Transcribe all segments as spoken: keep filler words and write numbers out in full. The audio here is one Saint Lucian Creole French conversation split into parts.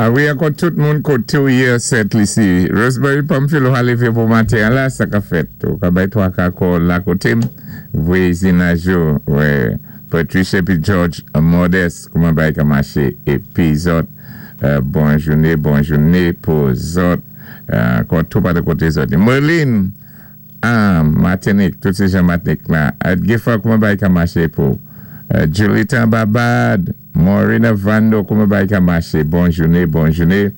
Ah wi, ankò tout moun koté ou yé Sent Lisi. Rosemary Pamphile ou lévé pou maten la, sa ka fèt. Ou ka bay twa ka kò la koté m. Vwazinaj yo, wè, Patricia épi George Modeste, kouman bagay ka maché. Épi zòt, euh, bon jouné, bon jouné pou zòt. Euh, ankò tou pa de koté zòt. Merlin, ah, Martinique, tout sé jan Martinique la. Gifa, kouman bagay ka maché pou. Euh, Julita Babad, Maureen Vando, kouman bagay ka maché? Bon jouné, bon jouné.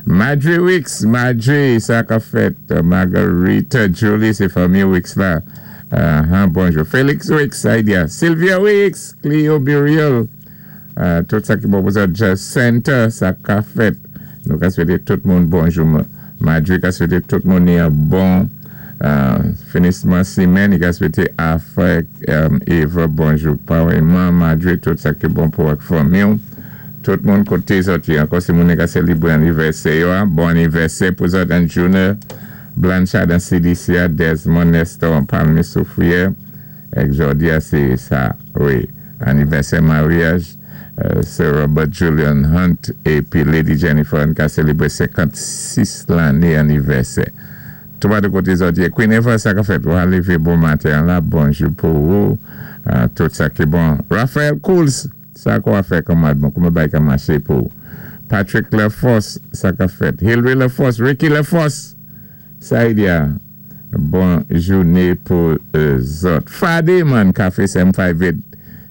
Madre Wicks, Madre, sa ka fèt. Margarita Julie, sé fanmi Wicks la. Uh, bonjou. Félix Wicks, Idea. Sylvia Wicks, Cleo Buriel. Uh, tout sa ki bon pou sa. Jacinta, sa ka fèt. Nou ka swété tout moun bonjou. Madre ka swété tout moun ni yon bon uh, finisman simenn. Li ka swété Afek, um, Eva, bonjou. Pareillement, Madre, tout sa ki bon pou ak fanmi. Tout moun koté zòt yo. Ankò si moun ka sélébré anivèsè yo, bon anivèsè pou zòt an Junior. Blanchard an C D C, Desmond Nestor an Palmi Soufrière. Ek jòdi a sé sa, wi, anivèsè maryaj. Euh, Sir Robert Julian Hunt épi Lady Jennifer an ka sélébré senkannsis lanné anivèsè. Tou pa de koté zòt yo. Queen Eva, sa ka fèt. Ou lévé bon maten la, bonjou pou ou. Uh, tout sa ki bon. Raphaël Cools, sa kwa fè kanmad bon, kouman bagay ka maché pou. Patrick Laforce, sa ka fèt. Hillary Laforce, Ricky Laforce, sa y a. Bon jouné pou euh, zòt. Fade man, Café seven five eight,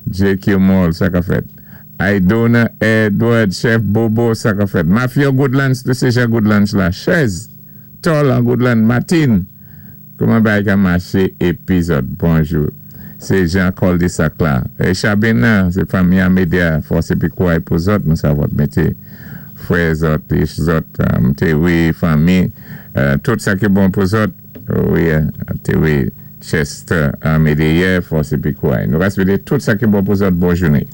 J Q Mall, sa ka fèt. Aidona Edward, Chef Bobo, sa ka fèt. Mafia Goodlands, tout sé jan Goodlands la. Chez, Tol an Goodlands, Martin. Kouman bagay ka maché épi zòt, bonjou. Sé Jean Cul-de-sac la. E Chabina, sé fanmi Amédia, fòs épi kouray pou zòt, nou sa vòt mété. Frè zòt, zòt, um, té wi, fanmi, uh, tout sa ki bon pou zòt, wi, té wi, Chester Amédéa, fòs épi kouray. Nou ka swété tout sa ki bon pou zòt, bon jouné.